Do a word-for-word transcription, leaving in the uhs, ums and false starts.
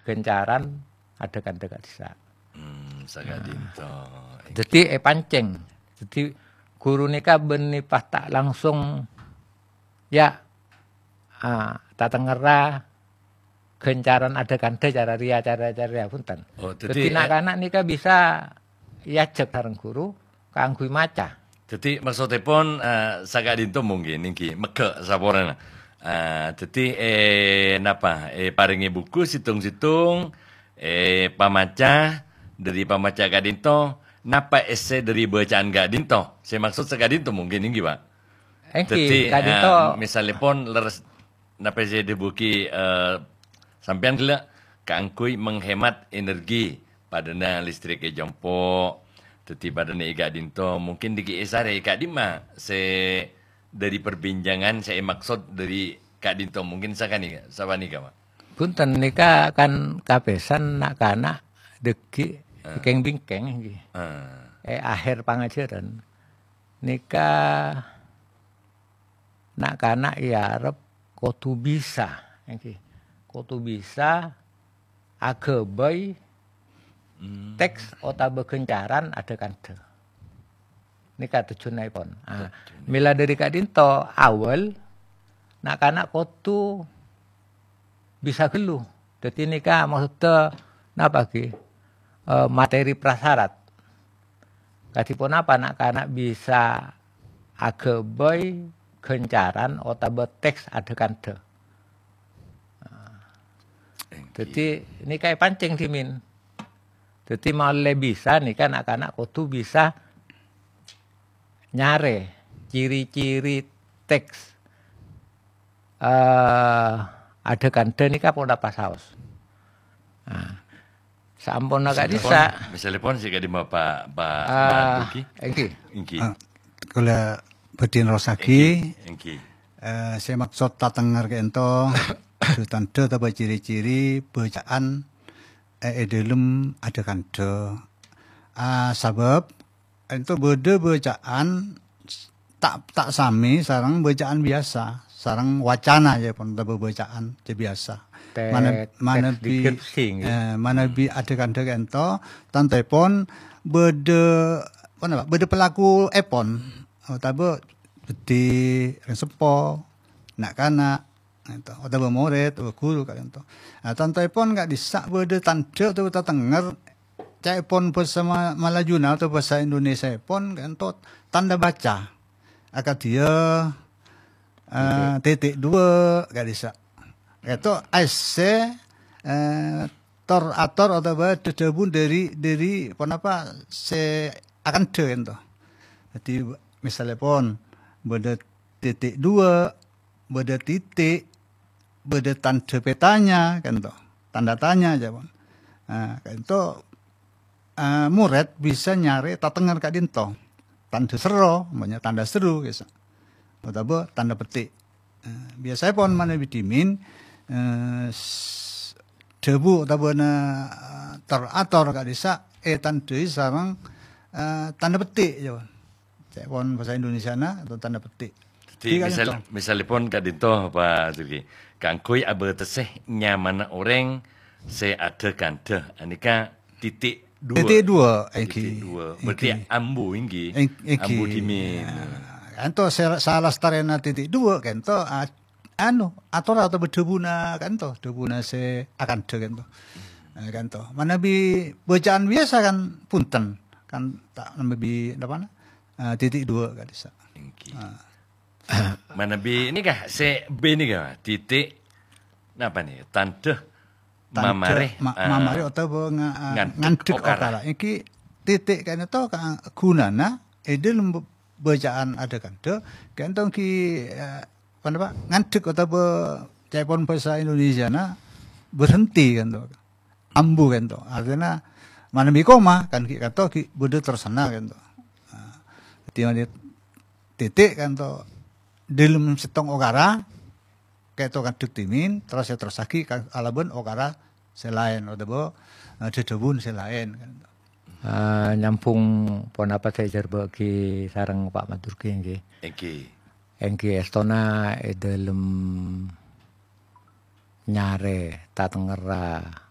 ghâncaran adhâ-kandhâ ka'dissa'. Hmm, saka'dhinto. Dhâddhi èpancèng. Dhâddhi ghuru nèka bânnè pas ta' langsung, ya, ah, tatengngerra ghâncaran adhâ-kandhâ cara rèya, cara, cara rèya, bhunten. Oh, dhâddhi, dhâddhi eh, na'-kana' nèka bisa èajhâk sareng ghuru kaangghuy maca. Dhâddhi, maksoddhèpon, eh, saka'dhinto mungkin èngghi megghâ' saporana. Eh, dhâddhi, eh, napa, eh, parèngè buku sèttong-sèttong, eh, pamaca, dhâri pamaca ka'dhinto, napa èssè dhâri bâcaan ka'dhinto? Sè maksod saka'dhinto mungkin èngghi, Pak. Èngghi, dhâddhi, ka'dhinto. Eh, misallèpon lerres napa sè èdhâbuwâghi, eh, sampèyan ghellâ' kaangghuy menghemat energi, padâna listrik è compo', dhâddhi padâna è ka'dhinto, mungkin dhâggi' èsarè è ka'dimma sè dhâri perbincangan sè èmaksod dhâri ka'dhinto, mungkin sakanèka, sapanèka, Pak. Bhunten, nèka kan kapèsan na'-kana' dhâggi' Ah. kèng-bingkèng èngghi. Ah. È akhèr pangajhârân. Nèka na'-kana' èarep kodhu bisa, èngghi. Kodhu bisa aghâbây Hmm. teks otabâ ghâncaran adhâ-kandhâ. Nèka tojjhuwânnaèpon. Ah, Tojjhuwânna. Mèla dhâri ka'dhinto, awal, na'-kana' kodhu bisa ghâllu. Dhâddhi nèka maksodda napa ghi? Eh, materi prasyarat. Kadhi ponapa na'-kana' bisa aghâbây ghâncaran otabâ teks adhâ-kandhâ? Èngghi. Dhâddhi, nèka èpancèng dhimèn. Dhâddhi, ma'ollè bisa nèka na'-kana' kodhu bisa nyarè ciri-ciri teks, eh, adhâ-kandhâ nèka ponapa saos. Nah, saamponna ka'dissa'. Misallèpon sè ka'dimma, Pak, Pak, Pak Ah, Duki? Èngghi. Èngghi. Ah, kaulâ bhâdhi nerrossaghi. Èngghi, èngghi. Eh, sè maksod tatengngerra ka'dhinto, tandhâ otabâ ciri-ciri bâcaan, eh, è dhâlem adhâ-kandhâ. Ah, sabâb ka'dhinto bâdâ bâcaan ta', ta' samè sareng bâcaan biyasa, sareng wacana, ya, pon, otabâ bâcaan sè biyasa. Te-, Mana-, teks manabi, deskripsi, gitu. Eh, manabi Hmm. adhâ-kandhâ ka'dhinto, tantoèpon bâdâ, ponapa, bâdâ pelakuèpon, otabâ bhâdhi, rèng seppo, na'-kana', ka'dhinto, otabâ morèd, otabâ ghuru, ka'dhinto. Nah, tantoèpon ka'dissa' bâdâ tandhâ otabâ tatengngerra, ca'èpon bhâsa Ma-, Malajuna otabâ bhâsa Indonesiaèpon, ka'dhinto, tanda baca. Akadhi, eh, Titik. titik dua, ka'dissa'. Ka'dhinto, èssè, eh, tor-ator otabâ dhâdhâbu dhâri, dhâri ponapa sè akandhâ, ka'dhinto. Dhâddhi, misallèpon, bâdâ titik dua, bâdâ titik, bâdâ tandhâ pètanya, ka'dhinto. Tanda tanya, jâ, pon. Nah, ka'dhinto, eh, morèd bisa nyarè tatengngerra ka'dhinto. Tandhâ serro, umpamanya tandhâ seru, ka'dissa'. Otabâ tandhâ petik. Eh, biyasaèpon manabi dhimèn, eh, s-, dhâbu otabâna, eh, tor-ator ka'dissa' ètandhâi sareng, eh, tandhâ petik, jâ, pon. Ca'èpon bhâsa Indonesiana atau tanda petik. Dhâddhi, Tiga misal, ka'dhinto. Misallèpon ka'dhinto, Pak Zulki, kaangghuy abâtessè nyamana orèng sè adhâ-kandhâ, anèka titik dua. Titik dua, Titik èngghi. dua. Berarti Èngghi. ambu, èngghi. Èng-, èngghi. Ambu dhimèn. Ya. Ka'dhinto sè, salastarèna titik dua, ka'dhinto, a-, anu, ator otabâ dhâbuna, ka'dhinto, dhâbuna sè akandhâ, ka'dhinto. Eh, ka'dhinto. Manabi bâcaan biyasa kan bhunten. Kan ta' manabi, napa, eh, titik dua ka'dissa'. Èngghi. Ah. Manabi nèka sè B nèka, titik napa nèka? Tandhâ Tandhâ mamarè, ma-, eh, mamarè otabâ nga-, eh, ngandhek ngandhek okara. okara. Èngghi titik ka'dhinto ka-, ghunana è dhâlem b-, bâcaan adhâ-kandhâ, ka'dhinto èngghi, eh, ponapa, ngandhek otabâ ca'èpon bhâsa Indonesiana berhenti ka'dhinto. Ambu ka'dhinto. Artèna manabi koma kan ghi' ka'dhinto ghi' bâdâ terrosanna ka'dhinto. Nah, dhâddhi manabi titik ka'dhinto dhâlem sèttong okara, ka'dhinto ngandhek dhimèn, terros èterrossaghi ka-, kalabân okara sè laèn, otabâ, eh, dhâdhâbun sè laèn, kan. Eh, nyambung ponapa sè èjhârbâ'aghi sareng Pak Madurki, èngghi. Èngghi. Èngghi èstona è dhâlem nyarè tatengngerra